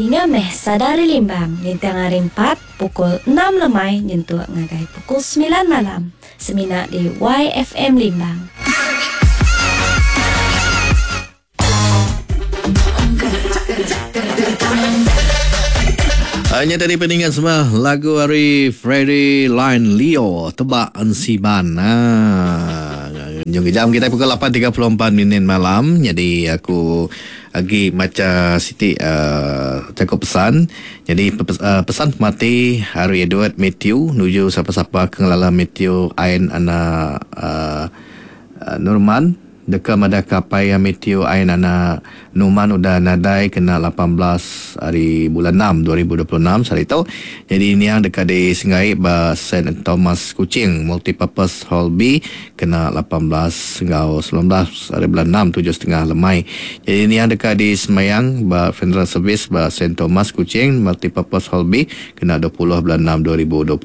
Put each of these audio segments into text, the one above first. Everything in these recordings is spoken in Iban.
Dinga meh sada ari Limbang ninting hari Empat pukul enam lemai nyentuk ngagai pukul semilan malam semina di YFM Limbang. Nya tadi peningan semua lagu ari Freddy Line Leo Tebak Ensiban. Ha. Jom jam kita pukul 8.34 minit malam. Jadi aku agi macha siti uh, jaku pesan. Jadi uh, pesan pemati hari Edward Matthew nuju siapa-siapa ke ngelala Matthew Ain anak uh, Nurman Deka madahka apai iya Mathew Ain anak Numan udah nadai kena 18 ari bulan enam 2026 sehari tu. Nyadi niang deka disenggai ba Saint Thomas Kuching Multipurpose Hall B kena 18 enggau 19 ari bulan enam tujuh setengah lemai. Nyadi niang deka disemayang ba Funeral Service ba Saint Thomas Kuching Multipurpose Hall B kena 20 bulan enam 2026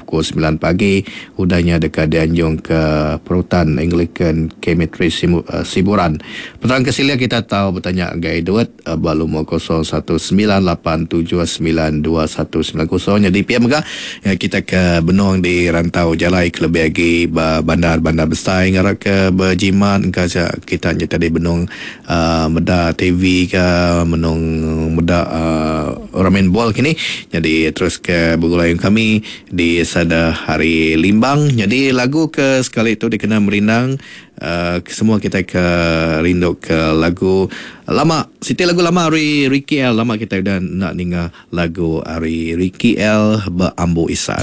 pukul semilan pagi. Udah nya deka dianjung ke Perutan Anglican Cemetery Siburan. Penerang ke silik kita tau betanya ngagai Edward ba lumur 0198792190. Nyadi pia mega kita ke benung di rantau jalai kelebih agi ba bandar-bandar besai ngarap ke bejimat engka kita nya tadi benung Meda TV ka menung meda orang main bol kini nyadi terus ke begulai enggau kami di sada hari Limbang nyadi lagu ke sekali tu dikena merindang semua kitai ke rindu ke lagu lama siti lagu lama ari Ricky El lama kitai udah enda ninga lagu ari Ricky El beambu isan.